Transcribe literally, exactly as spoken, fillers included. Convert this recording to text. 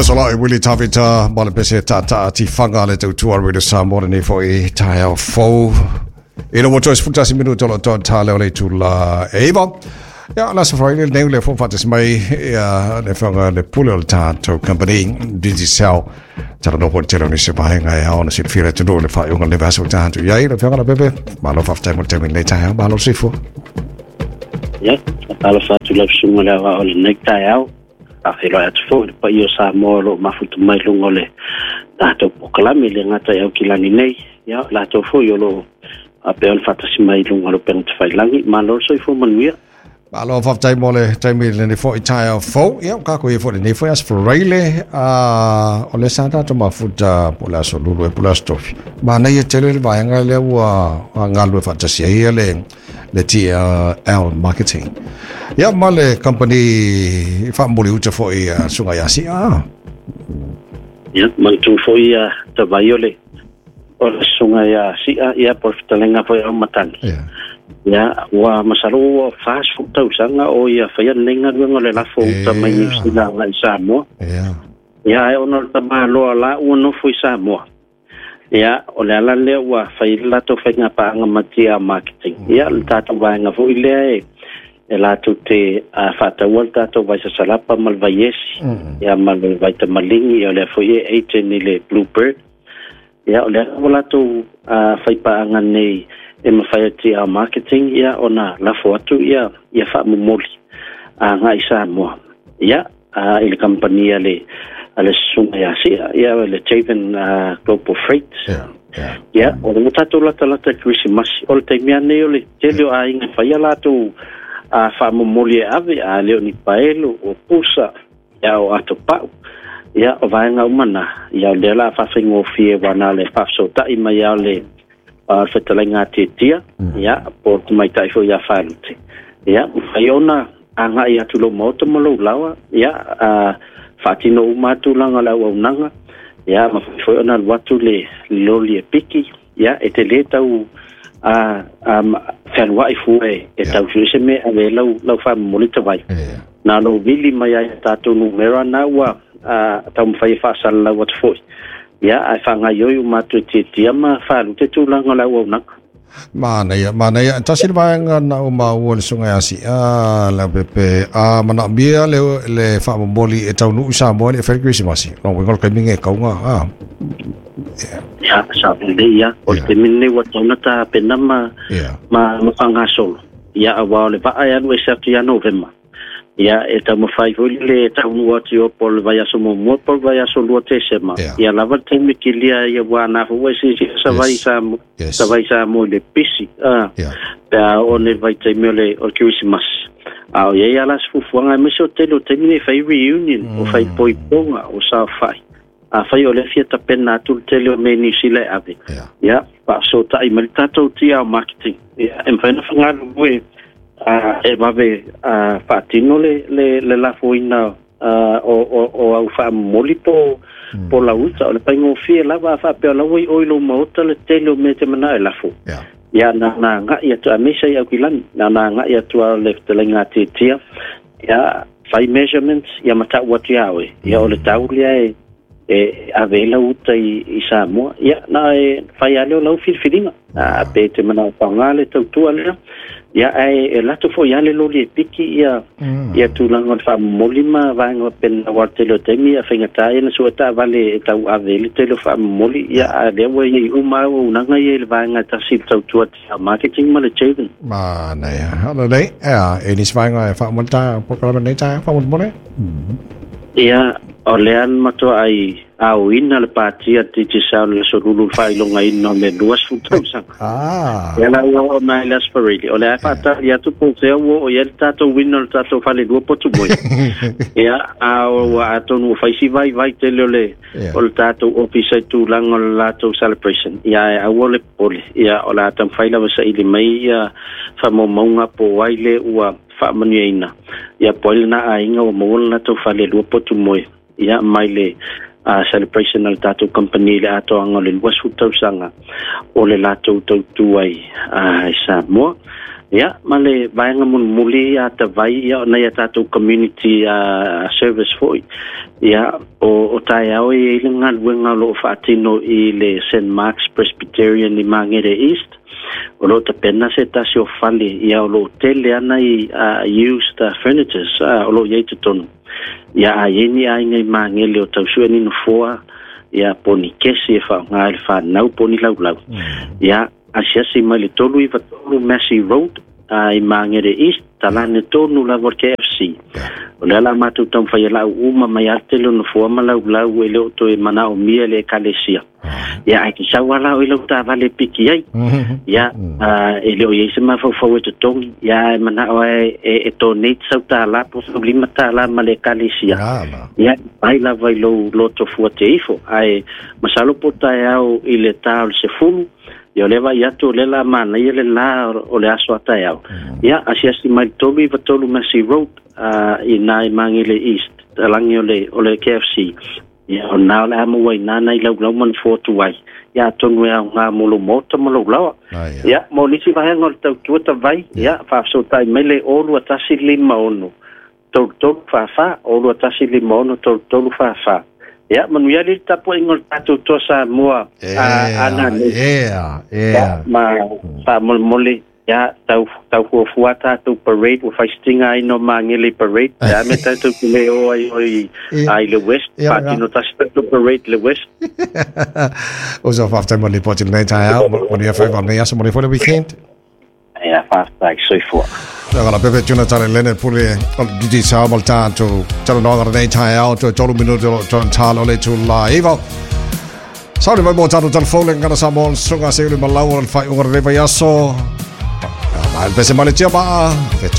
Fesolai Willie Tavita, ma le pese tata tifanga le tautua Radio Samoa lenei foi taeao fou. Ina ua toe sefulutasi minuto o loo toa ta leo le itula e iva. Ia, la sa fai le le fo faatasi mai ia le afioga le pule o le tatou company Digicel. Talanoa po tele o nisi vaega e ao ona silafia le atunuu le faaiuga le vaiaso ua tatou i ai. Le afioga Leaupepe, malo faafetai mo le taimi lenei taeao, malo le soifua. Ia, faatalofa atu lau susuga le aoao i lenei taeao. Faafeiloai atu foi le paia o Samoa o loo mafuta mai luga o le tatou polokalame le gata i Aukilani nei. Ia, latou foi o loo faapea ona faatasi mai luga o le upega tafailagi. Malo le soifua manuia. Malo faafetai mo le taimi lenei foi taeao fou. Ia, o kako ia foi lenei foi aso Faraile, a o le sa tatou mafuta po le aso Lulu e po le aso Tofi. Manaia tele le vaega lea ua galulue faatasi ai ia le le T L Marketing. Ia, ma le company faamuli uta foi a susuga ia Sia. Ia, manatua foi ia tavai o le o le susuga ia Sia, ia po o le fetalaiga foi au matagi. Ia. Ia, ua masalo ua fasefulu tausaga o ia faia lenei galuega o le lafo uta mai Niu Sila agai i Samoa. Ia. Ia, ae ona o le tamaloa la ua nofo i Samoa. Ia, o le ala lea ua fai le latou faigapaaga ma T L Marketing. Ia, le tatou vaega foi lea e e latou te uh, faataua le tatou vai sasalapa ma le vaiesi, ia ma le vai tamaligi, ia o lea foi e agent i le Bluebird. Ia, o lea ua latou uh, faipaaga nei e mafai e T L Marketing ia ona lafo atu ia ia faamomoli agai i Samoa. Ia, uh, i le kampani a le a le susuga ia Sia, ia le Javan uh, Global Freight. Ia. Ia. Ia, o le tatou latalata i Kerisimasi, o le taimi nei o le tele o aiga e faia latou a faamomoli e ave, a le o ni paelo, o pusa, ia o atopau. Ia, o vaega uma na, ia o lea la faafaigofie ua le faafesootai mai a le a le fetalaiga tietia, ia, po o le tamaitai foi ia Falute. Ia, mafai ona agai atu lou maota ma lou lawa, ia, a, faatino uma tulaga o le auaunaga, ia, mafai foi ona alu atu le loli e piki, ia, e te lē tau a, a, fealuai fua e, e Ia. tau sue se mea ave lau, lau faamomoli tavai. Ia. Na lou vili mai ai tatou numera na ua a, taumafai e faasalalau atu foi. Ia, ae faagaioi uma atu e tietia ma Falute tulaga o le auaunaga. Manaia, manaia. Tasi le vaega na o maua le susuga ia Sia Leaupepe. A manaomia le, le faamomoli e taunuu i Samoa le e fai le Kerisimasi. Lo uiga o le taimi e kauga. Ah. Ia, sa lelei ia. O le Ia. taimi lenei ua tauna tapena ma, Ia. ma, ma faagasolo. Ia, auā o le vaa e alu ese atu ia Novema. Ia, e taumafai foi le taunuu atu i o po o le vaiaso muamua po o le vaiaso lua Tesema. Ia. Ia lava le taimi kilia ia ua na foi siisia sa vai Yes. sa Yes. sa vai sa mo le pisi. Ah, Ia. pe a o ne vai taimi o le o le Kerisimasi. A o ia la se fuafuaga aemaise o tele o taimi nei fai reunion, o fai poipoga, o saofai. A fai o le fia tapena atu le tele o mea Niu Sila e ave. Ia. Ia, faasootai ma le tatou T L Marketing. Ia, e mafai ona fagalulue a e vave a faatino le le le lafoina a o o o au faamomoli po po lauta o le faigofie lava a faapea lau i oi lou maota le tele o mea te manao e lafo. Ia. Ia, na na agai atu aemaise i Aukilani, na na agai atu a le fetalaiga tietia. Ia, fai measurements, ia matau atu ia oe. Ia, o le tau lea e e ave ai lau uta i, i Samoa. Ia, na e fai ale o lau filifiliga. A pe te manao faaaoga le tautua lea. Ia, ae e lato foi ale loli e piki ia Mm. ia tulaga o le faamomoli ma vaega pena wa tele o taimi ia faigata ia na sua taavale e tau ave le tele o faamomoli ia a lea ua iai uma auaunaga ia i le vaega e tasi i le tautua T L Marketing ma le Javan. Manaia. Hala lelei. Ia, e nisi vaega e faamoli ta polokalame nei taeao faamolemole. Ia, o lea na matoa ai aoina le patia Digicel le aso Lulu le faailogaina o le luasefulu tausaga. Ah. Ia la ua oo mai le Aso Faraile. O le a faatali atu po o fea ua oo i ai le tatou wina o le tatou falelua potu moe. Ia, a ua atonu ua fai si vaivai tele o le Ia. o le tatou ofisa i tulaga o le latou celebration. Ia, ae aua le popole. Ia, o le a taumafai lava saili mai ia faamaumauga po o ai le ua faamanuiaina. Ia, po o ai lena aiga ua maua le latou falelua potu moe. Ia, mai le uh, celebration a le tatou company i le atoaga o le luasefulu tausaga o le latou tautu ai uh, i Samoa. Ia, ma le vaega mulimuli a tavai, ia, o nai a tatou community uh, service foi. Ia, o, o taeao e i ai le galuega o loo faatino i le Saint Mark's Presbyterian i Magere East. O loo tapena se tasi o fale, ia, o loo tele ana i uh, used uh, furnitures uh, o loo iai totonu. Ia, a iai ni aiga i Magele o tausue ni nofoa, ia, po ni kesi e faaaoga i le fanau po ni laulau. Mm. Ia, asiasi mai le tolu iva tolu Massey Road uh, i Magere East, talane tonu lava o le K F C. O lea la matou taumafai e lau uma mai a le tele o nofoa ma laulau e le o toe manaomia le ekalesia. Ia, ae kisau ala o i lau taavale e piki ai. Ia, uh, e le o iai se mafaufau e totogi. Ia, e manao e, e, e donate sau tālā po sau lima tālā ma le ekalesia. Ia, ai lava i lou loto fua te ifo. Ae, masalo po taeao i le tā o le sefulu, ia o le vai atu o le la manaia le la o le aso a taeao. Ia, asiasi mai le tolu iva tolu Massey Road uh, i nā i Magele East, talangi o le, o le K F C. Ia, o nā o le ama ua i nāna i laulau mana fōtu ai. Ia, atonu e au ngā molo mota ma laulaua. Ia, mo nisi vahenga o le tautua tavai, ia, faafesootai mai le olu tasi lima ono. Tolu tolu whawha, olu tasi lima ono, tolu tolu whawha. Ia, manuia le tapuaiga o le tatou toa Samoa ana nei. Ea, ea. Ma faamolemole, ia, tau, tau fuafua tatou parade, ua faisitinga ai no Magele parade. Ia, me tatou te le o ai o i, ai le West, faatino tasi tatou parade le West. O so whaftai mo le poti lenei taeao, manuia whaiva nei aso, manuia fo le weekend. Ia, whaftai, soifua. Nā pepe tuna tare lene pule o didi sa mal tātou tala noa nei taeao to tolu minuto o talo le tu la iwa. Sauri mai mo tātou tala fole ngana Samoa sunga se uli malau o le whai unga le vai aso. Mai pese male tia maa, fetu